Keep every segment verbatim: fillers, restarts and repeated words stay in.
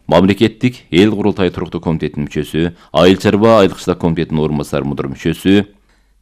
мамлекеттик эл курултайы туруктуу комитетинин мүчөсү, айыл чарба айыл кыштак комитетинин орун басары мудур мүчөсү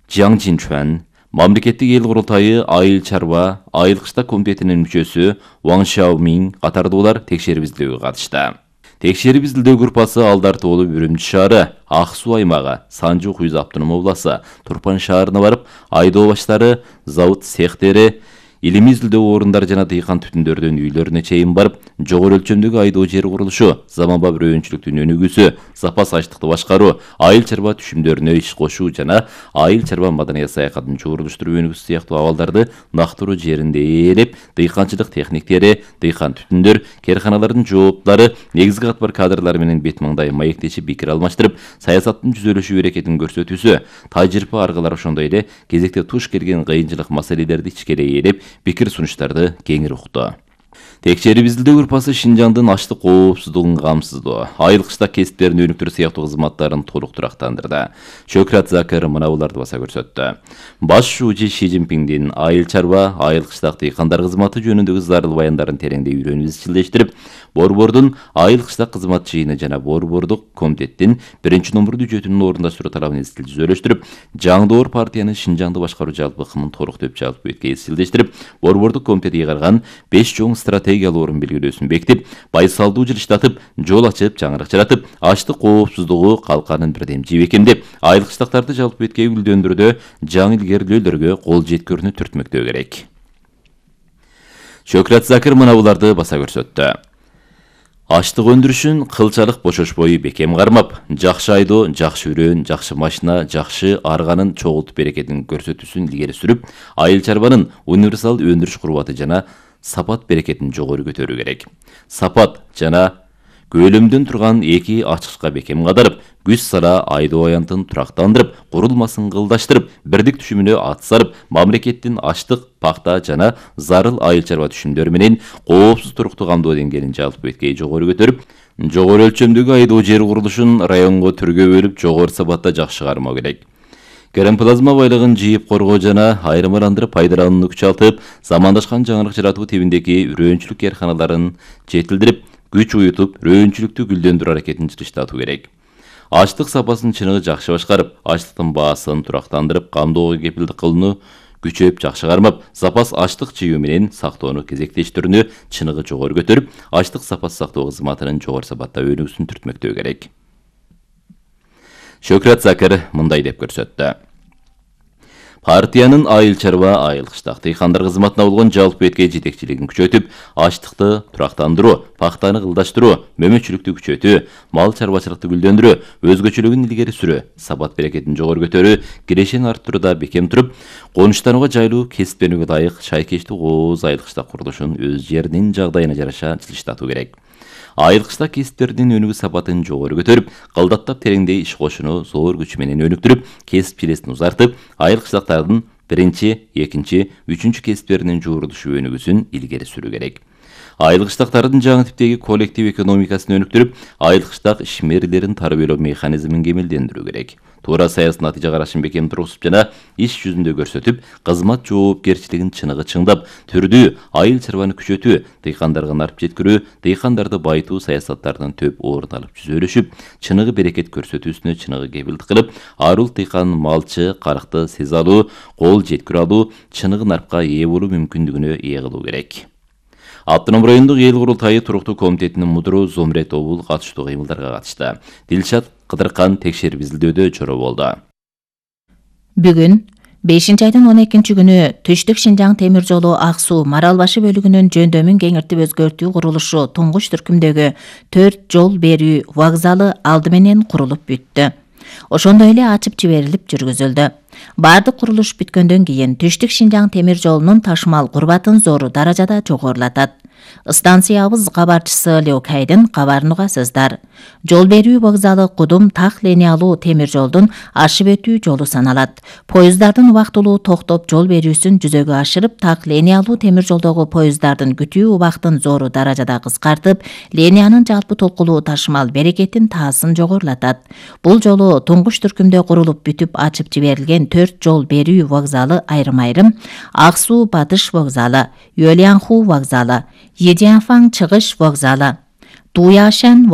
Жан Чинчуан, мамлекеттик эл курултайы айыл чарба айыл кыштак комитетинин мүчөсү Ван Шаомин катардуулар текшерип изилдөөгө катышты. Текшерип изилдөө группасы Алдарты болуп Үрүмчү шаары, Ак Суу аймагы, Санжу Куюз автоном обласы, Турпан шаарына барып, айдоо баштары, завод цехтери, илимий изилдөө орундар жана дыйкан түтүндөрдүн үйлөрүнө чейин барып, жогору өлчөмдөгү айдоо жер курулушу, заманбап рөөнчүлүктүн өнүгүүсү, запас аштыкты башкаруу, айыл чарба түшүмдөрүнө иш кошуу жана айыл чарба маданият саякатын жогорулуштуруу өнүгүүсү сыяктуу абалдарды нактыруу жеринде ээлеп, дыйканчылык техниктери, дыйкан түтүндөр, керканалардын жооптары, негизги катмар кадрлары менен бет маңдай маектешип пикир алмаштырып, саясаттын жүзөлөшүү эрекетин көрсөтүүсү, тажрыйба аргалар ошондой эле кезекте туш келген кыйынчылык маселелерди ичкере ээлеп, пикир сунуштарды кеңири укту. Текшерип изилдөө группасы Шинжаңдын аштык коопсуздугун камсыздоо, айыл кыштак кесиптерин өнүктүрүү сыяктуу кызматтарын толук турактандырды. Шөкрат Закыр мынабуларды баса көрсөттү. Баш шуучу Ши Цзиньпиндин айыл чарба, айыл кыштак дыйкандар кызматы жөнүндөгү зарыл баяндарын тереңдей үйрөнүп изчилдештирип, Борбордун айыл кыштак кызмат жыйыны жана Борбордук комитеттин биринчи номурдуу жөтүнүн орундаштыруу талабын изчил жүзөлөштүрүп, жаңдоор партиянын Шинжаңды башкаруу жалпы ыкмын толук деп жалпы бетке изчилдештирип, Борбордук комитет ыйгарган беш чоң стратегиялык орун белгилөөсүн бекитип, байсалдуу жылыштатып, жол ачып, жаңырык жаратып, аштык коопсуздугу калканын бирдем жибекемдеп, айыл кыштактарды жалпы бетке гүлдөндүрүүдө жаңы илгерилөөлөргө кол жеткөрүүнү түртмөктөө керек. Шөкрат Закыр мынабуларды баса көрсөттү. Аштык өндүрүшүн кылчалык бошошпой бекем кармап, жакшы айдоо, жакшы үрөөн, жакшы машина, жакшы арганын чогултуп берекетин көрсөтүүсүн илгери сүрүп, айыл чарбанын универсал өндүрүш курбаты жана сапат берекетин жогору көтөрүү керек. Сапат жана көлөмдөн турган эки ачкычка бекем кадарып, күз сара айдоо аянтын турактандырып, курулмасын кылдаштырып, бирдик түшүмүнө ат сарып, мамлекеттин аштык, пакта жана зарыл айыл чарба түшүмдөрү менен коопсуз туруктуу камдоо деңгээлин жалпы бетке жогору көтөрүп, жогору өлчөмдөгү айдоо жер курулушун районго түргө бөлүп, жогору сапатта жакшы кармоо керек. Керамплазма байлыгын жыйып коргоо жана айрымаландырып пайдаланууну күчалтып, замандашкан жаңырык жаратуу тибиндеги үрөөнчүлүк керканаларын жетилдирип, күч уютуп, рөөнчүлүктү гүлдөндүрүү аракетин жылыштатуу керек. Аштык сапасын чыныгы жакшы башкарып, аштыктын баасын турактандырып, камдоого кепилдик кылууну күчөп жакшы кармап, запас аштык жыюу менен сактоону кезектештирүүнү чыныгы жогору көтөрүп, аштык запас сактоо кызматынын жогору сапатта өнүгүүсүн түртмөктөө керек. Шөкрат Закыр мындай деп көрсөттү. Партиянын айыл чарба, айыл кыштак дыйкандар кызматына болгон жалпы бетке жетекчилигин күчөтүп, аштыкты турактандыруу, пактаны кылдаштыруу, мөмөчүлүктү күчөтүү, мал чарбачылыкты гүлдөндүрүү, өзгөчөлүгүн илгери сүрүү, сапат берекетин жогору көтөрүү, кирешени арттырууда бекем туруп, конуштанууга жайлуу, кесиптенүүгө ылайык шайкештүү кооз айыл кыштак курулушун өз жеринин жагдайына жараша жылыштатуу керек. Айыл кыштак кесиптердин өнүгүү сапатын жогору көтөрүп, кылдаттап тереңдей иш кошууну зор күч менен өнүктүрүп, кесип желесин узартып, айыл кыштактардын биринчи, экинчи, үчүнчү кесиптеринин жуурулушу өнүгүүсүн илгери сүрүү керек. Айыл кыштактардын жаңы типтеги коллектив экономикасын өнүктүрүп, айыл кыштак ишмерлерин тарбиялоо механизмин кемелдендирүү керек. Туура саясий натыйжа карашын бекем тургузуп жана иш жүзүндө көрсөтүп, кызмат жоопкерчилигин чыныгы чыңдап, түрдүү айыл чарбаны күчөтүү, дыйкандарга нарп жеткирүү, дыйкандарды байытуу саясаттарынын төп орун алып жүзөлөшүп, чыныгы берекет көрсөтүүсүнө чыныгы кепилдик кылып, арул дыйкан малчы, карыкты сез алуу, кол жеткире алуу, чыныгы нарпка ээ болуу мүмкүндүгүнө ээ кылуу керек. Автоном райондук эл курултайы туруктуу комитетинин мудуру Зомрет Обул катыштуу кыймылдарга катышты. Дилшат Кыдыркан текшерип изилдөөдө чороо болду. Бүгүн бешинчи айдын он экинчи күнү Түштүк Шинжаң темир жолу Ак Суу Марал башы бөлүгүнүн жөндөмүн кеңиртип өзгөртүү курулушу туңгуч түркүмдөгү төрт жол берүү вокзалы алды менен курулуп бүттү. Ошондой эле ачып жиберилип жүргүзүлдү. Бардык курулуш бүткөндөн кийин Түштүк Шинжаң темир жолунун ташмал курбатын зор даражада жогорулатат. Станциябыз кабарчысы Леокайдын кабарын угасыздар. Жол берүү вокзалы Кудум так линиялуу темир жолдун ашып өтүү жолу саналат. Поезддардын убактылуу токтоп жол берүүсүн жүзөгө ашырып, так линиялуу темир жолдогу поезддардын күтүү убактын зору даражада кыскартып, линиянын жалпы толкулуу ташмал берекетин таасын жогорулатат. Бул жолу туңгуч түркүмдө курулуп бүтүп ачып жиберилген төрт жол берүү вокзалы айрым-айрым Ак Суу батыш вокзалы, Юэлянху вокзалы, Едианфаң чыгыш вокзалы, Дуяшан